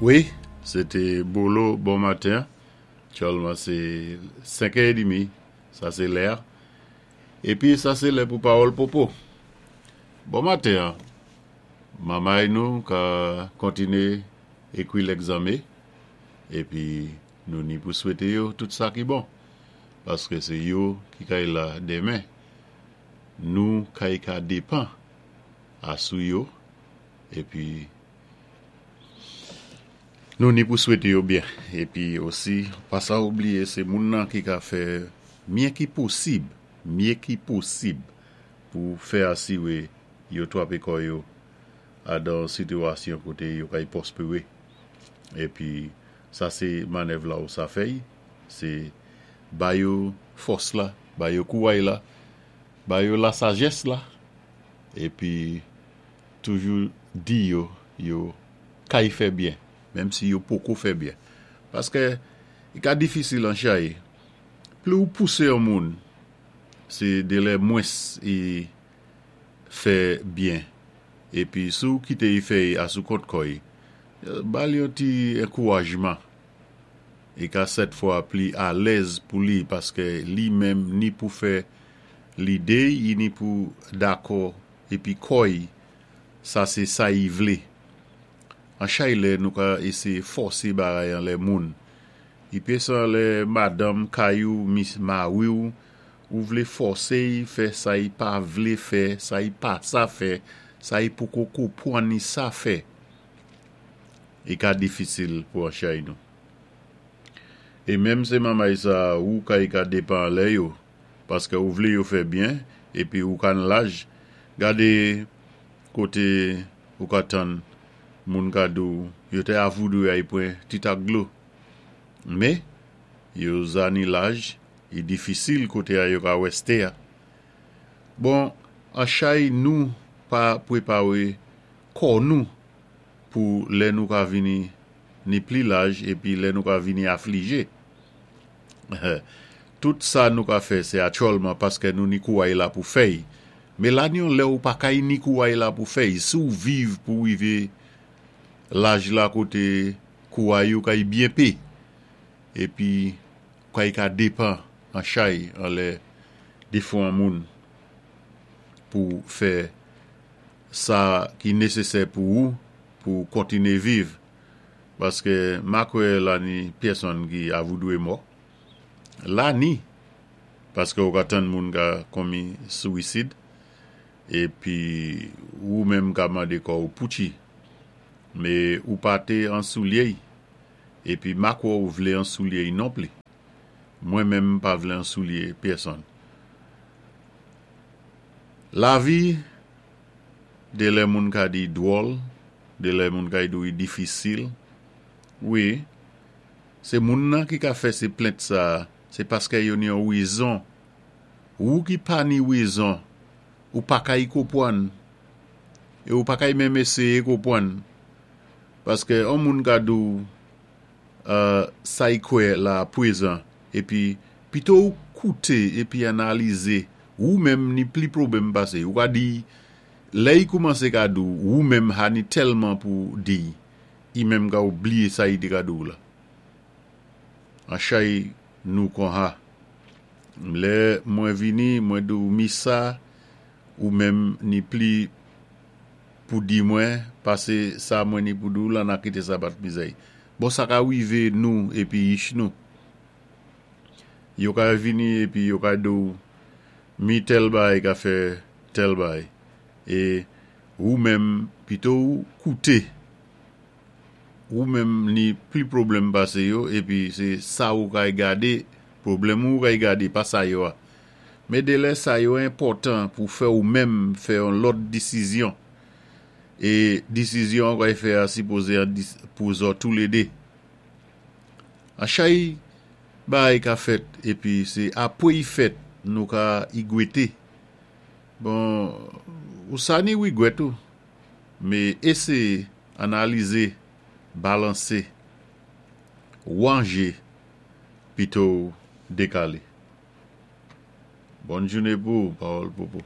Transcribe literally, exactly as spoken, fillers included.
Wi, sé té Bolo bon maten. Aktyèlman sé senkè édmi, sa sé lè. Épi sa sé lè pou Pawòl Popo. Bon maten, manmay nou ka kontiné ékwi lègzanmé, épi nou ni pou swété yo tout sa ki bon, paské sé yo ki kay la démen. Nou kay ka dépan asou yo, épi nou ni pou swété yo byen. Épi osi, pa sa oubliyé, sé moun nan ki ka fè mye ki posib, mye ki posib pou fè asiwé yo twapé kò yo adan sitiyasyon koté yo kay pwospéwé. Épi sa sé manèv la ou sa fèy, sé ba yo fòs la, ba yo kouway la, ba yo la sajès la, épi toujou di yo, yo kay fè byen, menm si yo poko fè byen. Paské i ka difisil an chay, pli ou pousé yon moun, sé delè mwens i fè byen. Épi si ou kité i fè asou kont kò'y, ba li yon ti ankourajman. I ka sèt fwa pli alèz pou li, paské li menm ni pou fè lidé, i ni pou dakò, épi kò'y, sa sé sa i vlé. An chay lè nou ka éséyé fòsé bagay anlè moun. I pésan lè madanm kay ou, mis mari ou, ou vlé fòsé i fè sa i pa vlé fè, sa i pa sa fè, sa i poko konpwann ni sa fè. I ka difisil pou an chay nou. É menm sé manmay sa ou kay ka dépan lè yo, paské ou vlé yo fè byen, épi ou ka nan laj, gadé koté ou ka tann moun ka di ou, yo té avoudwé ay pwan ti tak dlo. Mé, yo za ni laj, i difisil koté a yo ka wèsté a. Bon, an chay nou pa pwépawé kò nou pou lè nou ka vini ni pli laj épi lè nou ka vini aflijé. Tout sa nou ka fè sé aktyèlman paské nou ni kouway la pou fè'y. Mé la ni yon lè ou pa kay ni kouway la pou fè'y, si ou viv pou wivé laj la koté kouway ou kay byen pé, épi kay ka dépan an chay anlè défwan moun pou fè sa ki nésésè pou ou pou kontiné viv. Paské ma kwè la ni pèsonn ki avoudwé mò. La ni, paské ou ka tann moun ka konmi swisid, épi ou menm ka mandé kò ou poutchi. Mé ou pa té an soulye'y, épi ma kwè ou vlé an soulye'y non pli. Mwen menm pa vlé an soulye pèsonn. Lavi, dé lè moun ka di dwòl, dé lè moun ka di ou difisil, wi, sé moun nan ki ka fè sé plent sa, sé paské yo ni yon wézon. Ou ki pa ni wézon, ou pa kay konpwann, é ou pa kay menm éséyé konpwann. Paské an moun ka di ou, euh, sa i kwè la pwézan, épi pito ou kouté épi analizé, ou menm ni pli pwoblèm pasé. Ou ka di, lè i koumansé ka di ou, ou menm ha ni tèlman pou di, i menm ka oubliyé sa i té ka di ou la. An chay nou kon ha. Lè mwen vini, mwen di ou mi sa, ou menm ni pli pou di mwen, pasé sa mwen ni pou di ou la nan kité sa bat mizè'y. Bon, sa ka wivé nou épi yich nou. Yo ka vini épi yo ka di ou, mi tèl bay ka fè tèl bay. É ou menm pito ou kouté, ou menm ni pli pwoblèm pasé yo, épi sé sa ou kay gadé, pwoblèm ou kay gadé, pa sa yo a. Mé dé lè sa yo enpòtan pou fè ou menm fè yon lòt désizyon. É désizyon kay fè a sipozé an pou zòt tou lé dé. An chay bay ka fèt, épi sé apwé i fèt nou ka igwété. Bon, ou sa ni wigwèt ou, mé éséyé, analizé, balansé, wanjé, pito dékalé. Bòn jouné pou Pawòl Popo.